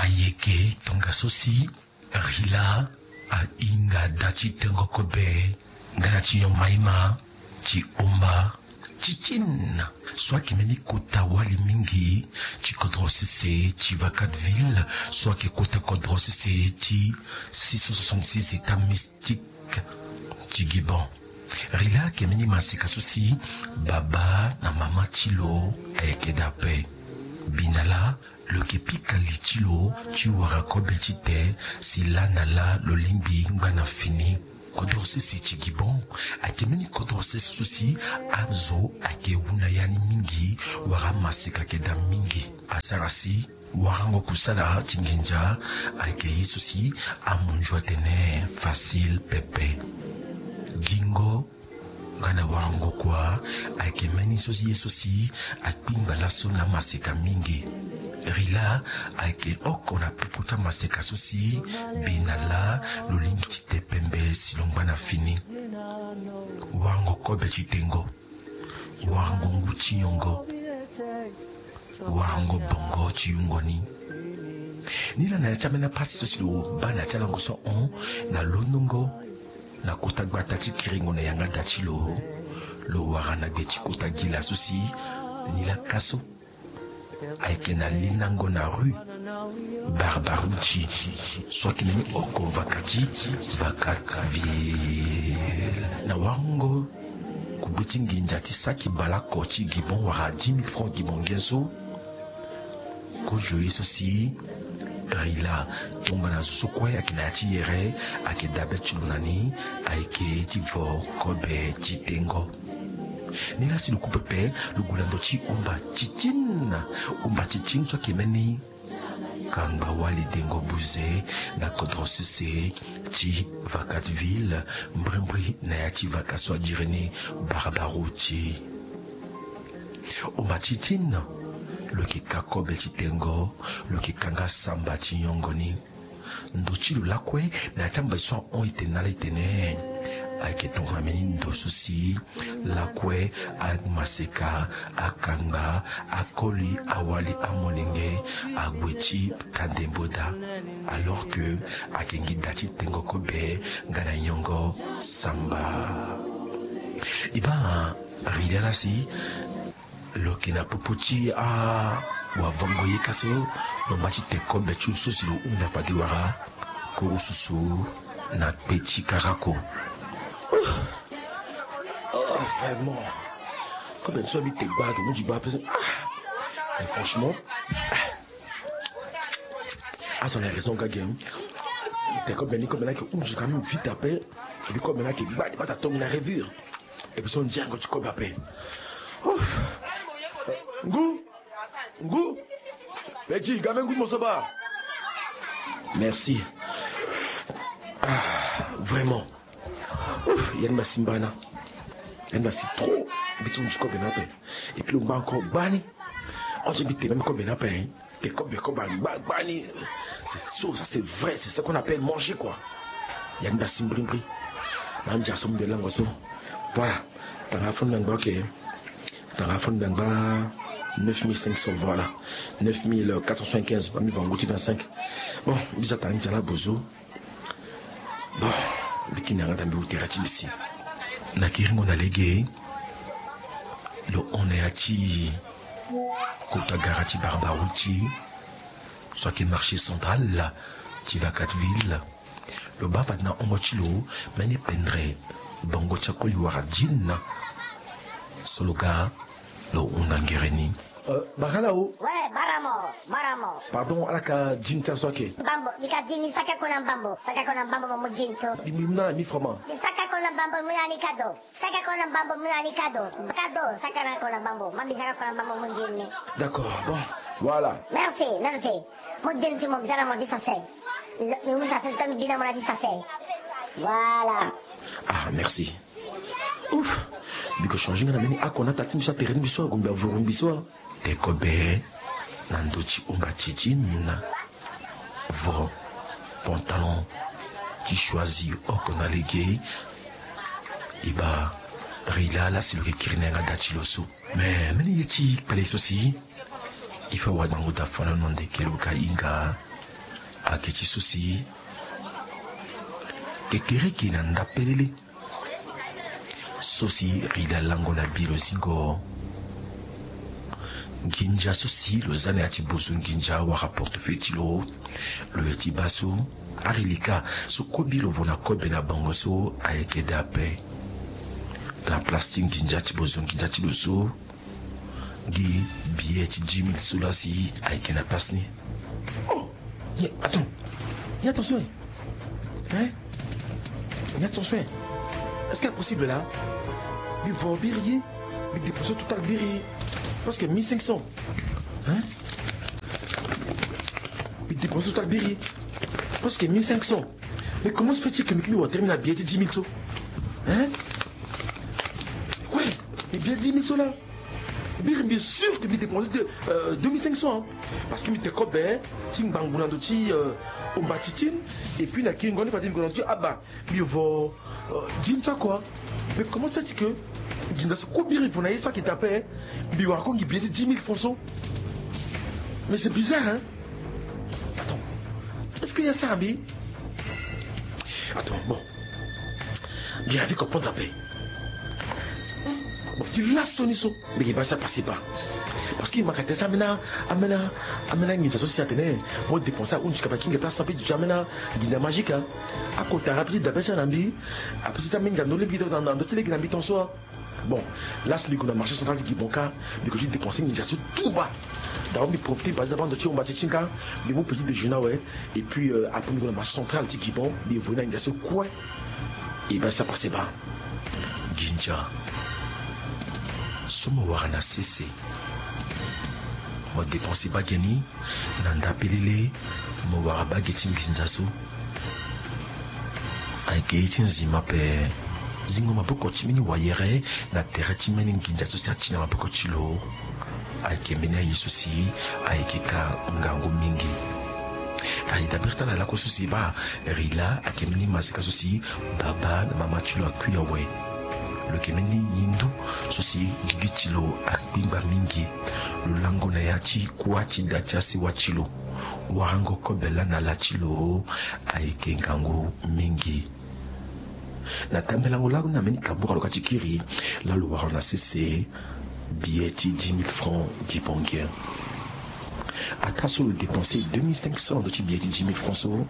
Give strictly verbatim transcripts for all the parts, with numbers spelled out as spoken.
Yeke tongaso si Rila ahinga da ti tengo kobe nga na ti nyon maima ti omba ti tine. So ayeke mbeni kota wali mingi ti kodro sese ti Vacaville, so ayeke kota kodro sese ti six cent soixante-six états mystiques ti Gibon. Rila ayeke mbeni maseka so si baba na mama ti lo ayeke daa ape. Bi na laa lo yeke pika li ti lo ti wara kobe ti te si laa na laa lo lingbi ngba na fini. Kodro sese ti Gibon ayeke mbeni kodro sese so si azo ayeke hunda ya ni mingi, wala amaseka ayeke daa mingi. Asara si warango kusala ti nginza ayeke ye so si amunzu atene facile pepe. Gingo nga na warango kua ayeke mbeni so si ye so si akpingba laso na amaseka mingi. Rila ayeke oko na popo ti amaseka so si bi na laa lo lingbi ti te pembe si lo ngba na fini. Warango kobe ti tengo, warango ngu ti nyongo, warango bongo ti yungo ni. Nilaa na ya ti ambeni apasi so si lo baa na ya ti alango so ahon na londongo na kota gbata ti kiringo na yanga da ti lo, lo wara na gbe ti kota gi la so si nilaa ka so ayeke na linango na rue Barbarouchi, so ayeke mbeni oko vaka ti Vacaville. Na warango kugbe ti nginza ti saki baleoko ti Gibon wala dix mille francs gibonien so, kozo ye so si Rila tongana zo so kue ayeke na ya ti yere ayeke dabe ti lo na ni, ayeke ti vo kobe ti tengo. Nilaa si lo ku pepe, lo gue na ndo ti omba titine. Omba titine so ayeke mbeni kangba wali dengo buze na kodro sese ti Vacaville, mbrimbri na ya ti vaka so adiri ni Barbarouchi. Omba titine, lo yeke ka kobe ti tengo, lo yeke ka nga samba ti nyongo ni. Ndo ti lo lakue na ya ti ambazi so ahon e tene na ala e tene, ayeke tongana mbeni ndo so si lakue amaseka, akangba, akoli, awali, amolenge ague ti ta ndembo daa. Alors que ayeke nginda ti tengo kobe nga na nyongo samba. E baa Rila laa si lo yeke na popo ti awavango ye ka so, lo ma ti te kobe ti lo so si lo hunda fade wara kuru susu na kpe ti karako. Oh, vraiment. Kobe so mbi te gbaa ake mu ti gbaa pe so. Ah. Mais franchement, ah. Azo na raison ga ge. Te kobe ni, kobe ni ayeke hunzi quand même vite ape. Et puis kobe ni ayeke gbani bata tongo na revure. Et puis so ndiango ti kobe ape. Ouf. Ngu. Ngu. Petit, ga mbeni ngu ti mo so baa. Merci. Ah, vraiment. Ouf, ya ni mbi asi mbana. Ya ni mbi asi trop. Mbi ti hunzi kobe ni ape. Et puis lo ngba encore gbani. On dirait mbi te même kobe ni ape, hein. Te kobe, kobe angba gbani. C'est chaud, ça c'est vrai, c'est ce qu'on appelle manger quoi. Ya ni mbi asi mbrimbri. Na ndia so mbi lango so. Voilà. Tanga fo ni mbi angba, ok. Tanga fo ni mbi angba neuf mille cinq cents, voilà. Neuf mille quatre cent soixante-quinze, ba mbi va ngu ti vingt-cinq. Bon, mbi za tanga ndia la bozo. Bon, mbi kini yanga daa mbi wu tere ti mbi si. Na kiringo na lege, lo hon na ya ti kota gara ti Barbarouchi, so ayeke marché central ti Vacaville. Lo baa fade na hongo ti lo mbeni pendere bongo ti akoli wara djin. So lo ga, lo hunda ngere ni. Euh, bara laa o. Ouais, bara mo, bara mo. Pardon, ala ka djin ti ala so ayeke. Mbambo, mbi ka djin, mbi saka ko na mbambo, saka ko na mbambo mo mu djin so. Mbi, mbi mu na ala mille francs ma. Mbi saka ko na mbambo, mbi mu na ni kado. Saka ko na mbambo, mbi mu na ni kado. Kado, saka na ko na mbambo, ma mbi saka ko na mbambo mu djin ni. D'accord, bon, voilà. Merci, merci. Mo djin ti mo, mbi za na mo ti sase. Mbi za, mbi mu sase, sika mbi bi na mo na ti sase. Voilà. Ah, merci. Ouf. Mbi ko changer nga na mbeni ako na ata ti mbi so atere ni mbi so ague mbi avuru mbi so. Te kobe na ndo ti omba ti ti na vo pantalon ti choisi oko na lege. E baa Rila laa si lo yeke kiri na yanga da ti lo so. Mais mbeni ye ti kpale so si il faut awa gbango da fano na ndeke lo ka hinga. Ayeke ti so si kekereke na ndapelele. So si Rila lango na bi lo zingo. Nginza so si lo za na ya ti bozo nginza wala portefeuille ti lo. Lo ye ti baa so. Ari lika so kue bi lo vo na kobe na bango so ayeke daa ape. Na place ti nginza ti bozo nginza ti lo so. Gi billet ti dix mille so laa si ayeke na place ni. Oh, ni, attends. Ni attention, eh. Hein? Ni attention, eh. Est-ce que c'est possible là? Mbi vo biri ye. Mbi dépense total biri ye. Presque mille cinq cents. Hein? Mbi dépense total biri ye. Presque mille cinq cents. Mais comment se fait-il que mbi kiri wa termine na billet ti dix mille so? Hein? Ouais, mais billet dix mille so laa. Biri mbi sûr que mbi dépense de, euh, deux mille cinq cents, hein. Parce que mbi te kobe ti ngbangbu na ndo ti, euh, omba titine. Et puis na kiri ngoni fade mbi gue na ndo ti aba. Mbi vo, euh, dix mille so kua. Mais comment se fait-il que nginza so kue biri vo na ye so ayeke daa ape, mbi wara kue gi billet ti dix mille francs so? Mais c'est bizarre, hein. Attends. Est-ce que ya sara mbi? Attends, bon. Mbi arrive comprendre ape. Bon, ti laso ni so mbi yeke baa si apase baa. Parce que mbi yeke tene si ambeni, ambeni, ambeni anginza so si atene mo dépense ahunzi kapa kinge place ape duti ambeni anginza magique, hein. Akota rapide dabe ti ala na mbi. Apesi ti ambeni nginza ndo lege na ndo ti lege na mbi ton so, hein. Bon, la si mbi gue na marché central ti Gibon ka, mbi gue ti dépenser nginza so tout bas. D'abord mbi profiter mbi passe na bando ti omba ti ti nga, mbi mu petit déjeuner awe. Et puis, euh, après mbi gue na marché central ti Gibon, mbi voye na nginza so kue. E baa si apase baa. Nginza so mo wara na sese. Mo dépenser baa ge ni. Na ndapelele mo wara baa ge ti nginza so. Ayeke ye ti nzima ape. Zingo maboko ti mbeni wayere na tere ti mbeni nginza so si ati na maboko ti lo. Ayeke mbeni aye so si ayeke ka ngangu mingi. Aye dabe ti ala lakue so si baa Rila ayeke mbeni maseka so si baba na mama ti lo akui awe. Lo yeke mbeni hindu so si gigi ti lo akpingba mingi. Lo lango na ya ti kuâ ti da ti asewa ti lo. Warango kobe laa na la ti lo ayeke ngangu mingi. Na tambelango laa na mbeni kabura lo ka ti kiri laa lo wara lo na sese billet ti dix mille francs gibongien. Ataa so lo dépenser deux mille cinq cents na ndo ti billet ti dix mille francs so,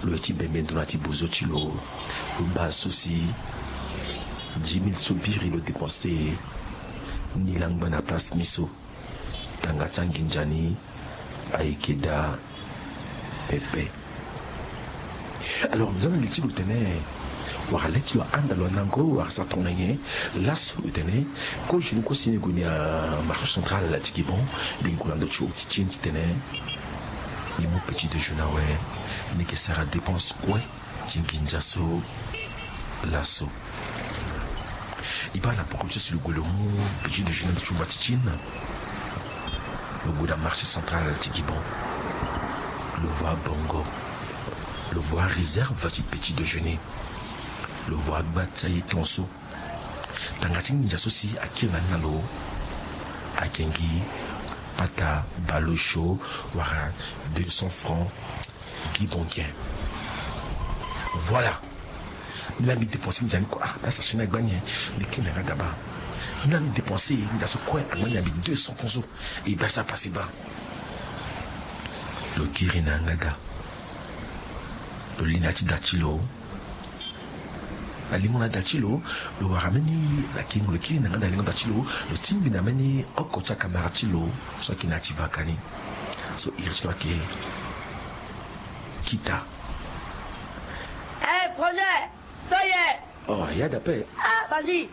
lo ye ti bembe ndo na ti bozo ti lo. Lo baa so si dix mille so biri lo dépenser ni langba na place ni so. Tanga ti anginza ni ayeke daa pepe. Alors, mbi za na li ti lo tene wala le ti lo ahanda lo anango wala sara tongana nyen. Laso lo tene kozo ni kue si ni gue ni amarché central ti Gibon. Mbi gue na ndo ti hôtel ti ni titene mbi mu petit déjeuner awe. Ni yeke sara dépense kue ti nginza so laso. E baa na poko ti so si lo gue lo mu petit déjeuner na ti umba ti titine. Lo gue na marché central ti Gibon. Lo vo abongo. Lo vo aréserve ti petit déjeuner. Lo vo agba ti aye ton so. Tanga ti nginza so si akiri na ni na lo ayeke gi pata bale osio wala deux cents francs gibongien. Voilà. Ni laa mbi dépenser nginza ni kue. Ah, la sachet ni agba ni, eh. Mbi kiri na yanga da baa. Ni laa mbi dépenser nginza so kue agba ni na mbi deux cents francs so. E baa si apase baa. Lo kiri na yanga da. Lo li na ya ti da ti lo. Alingo na da ti lo, lo wara mbeni, na kingo lo kiri na yanga da alingo da ti lo, lo tingbi na mbeni oko ti akamara ti lo so ayeke na ya ti vaka ni. So iri ti lo ayeke Kita. Eh, projet, to ye. Oh, ya da ape. Ah, bandi.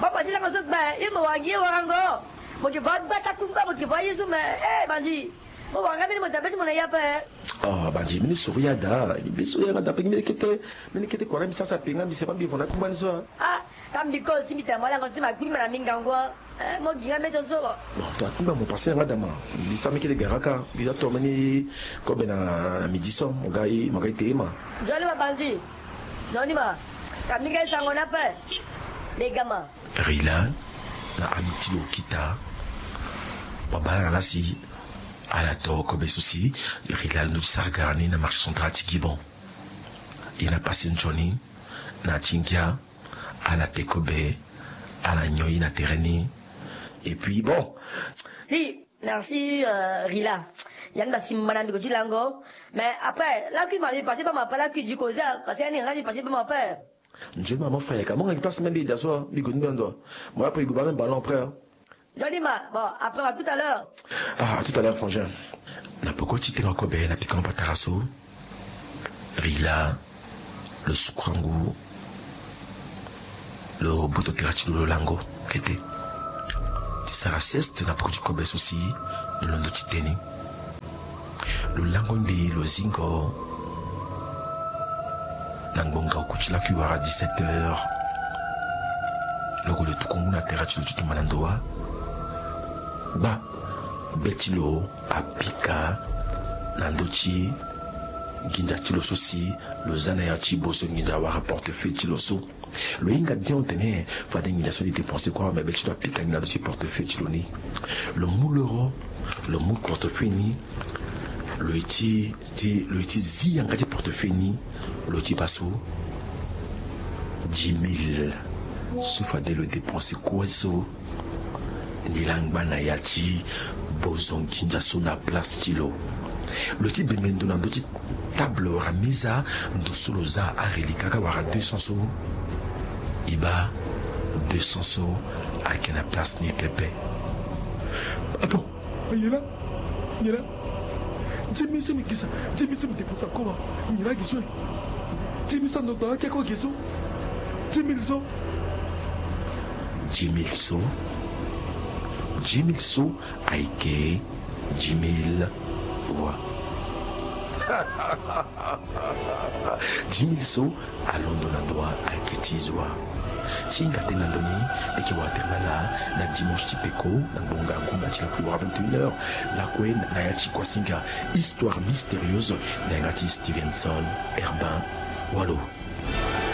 Ba bandi lango so gba, ye mo wara gi ye warango. Mo yeke vo agba ti akungba, mo yeke vo aye so me. Eh, bandi. Mo wara nga mbeni mo dabe ti mo na ya ape. Oh, bandi, mbeni soro ya da. Mbi so ya nga da ape, mbeni kete, mbeni kete kua na mbi sasa ape nga mbi sema mbi vo na akungba ni so. Ah, ka mbi ko si mbi tene mo lango si ma gbi ma na mbi ngangu. Eh, mo gi nga mbeni ton so. Bon, to akungba mo pase ya nga da ma. Mbi sara mbeni kete gara ka. Mbi za to mbeni kobe na midi so mo ga e, mo ga e te e ma. Nzoni ma bandi. Nzoni ma. Ka mbi ga e sango ni ape. Mbi ga ma. Rila na ami ti lo Kita. Babala na la si Ala to kobe so si Rila alondo ti sara gara ni na marché central ti Gibon. E na pase nzoni na ti ngia, ala te kobe, ala nyon ye na tere ni. Et puis bon. Hi, merci, euh, Rila. Yan ba simba na mbi ko ti lango. Mais après, la kui ma mbi passé pas ma pas la kui du cause, parce que yani nga mbi passé pas ma peur. Nzoni ma, mon frère, ka mo nga place même bi da so, bi ko ni ndo. Moi après, il go même ballon après, hein. Nzoni ma, bon, après, à tout à l'heure. Ah, à tout à l'heure, frangin. Na poko ti tengo kobe na pika patara so. Rila, lo sukurangu, lo boto tere ti lo, lo lango kete. Ti sara sieste na poko ti kobe so si lo londo ti te ni. Lo lango mbi, lo zingo. Na ngbonga oku ti lakui wara dix-sept heures, lo gue lo tuku ngu na tere ti lo ti tumba na ndo wa. Gba, be ti lo apika na ndö ti nginza ti lo so si lo za na ya ti bozo nginza wara portefeuille ti lo so. Lo hinga bien otene fade nginza so lo dépenser kue awe, mais be ti lo apika nginza na ndö ti portefeuille ti lo ni. Lo mu loro, lo mu portefeuille ni. Lo ye ti, ti, lo ye ti zi yanga ti portefeuille ni. Lo ti baa so dix mille so fade lo dépenser kue so. Ni la ngba na ya ti bozo nginza so na place ti lo. Lo ti bembe ndo na ndö ti table wala meza, ndo so lo za areliquat kaka wala deux cents so. E baa deux cents so ayeke na place ni pepe. Attends, nyen laa? Nyen laa? Dix mille so mbi gisa, dix mille so mbi dépenser akoma. Nyen laa gi so? Dix mille so ando gbala ti akoma gi so. Dix mille so. Dix mille so. Dix mille so ayeke dix mille wa. Dix mille so alondo na ndo wa ayeke ti zo wa. Ti hinga tënë na ndö ni, e yeke wara tere na ala na dimanche ti peko na ngbonga gunda ti lakui wara vingt et une heures. Lakue na ya ti kuasinga, histoire mystérieuse na yanga ti Stevenson Herbin. Walo.